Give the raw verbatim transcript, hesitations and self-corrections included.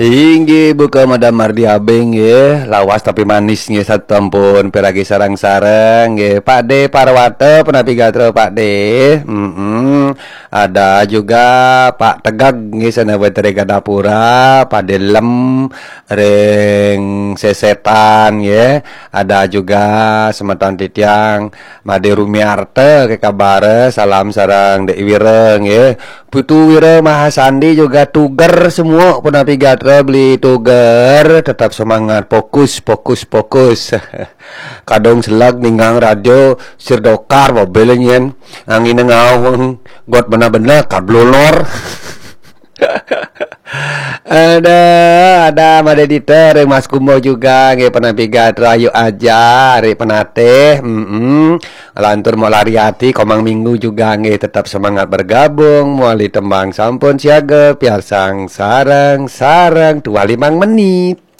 Inggih, buka Madam Mardi Abeng nggih, lawas tapi manis nggih, sampun piragi sareng-sareng nggih. Pak De Parwata punapi gatra Pak De. Mm-mm. Ada juga Pak Tegag nggih, sané wénten ring Gandapura, Pak De Lem ring Sesetan nggih. Ada juga semeton titiang Made Rumiarta, ké kabar, salam sareng Dek Wira nggih. Putu Wira Mahasandi juga tuger semua punapi gatra beli tuger, tetap semangat, fokus, fokus, fokus. Kadung selag ninggang radio sir dokar mobil nyen. Angin ngaung got bener-bener kablolor. Ada, ada Made Dita ring Mas Kumbo juga nggih, punapi gatra, ayo aja ari penatih. Mm-mm. Lantur mau lari ati, Komang Minggu juga nggih, tetap semangat bergabung, mawali tembang sampun siaga, piarsang sareng-sareng, tuah limang menit.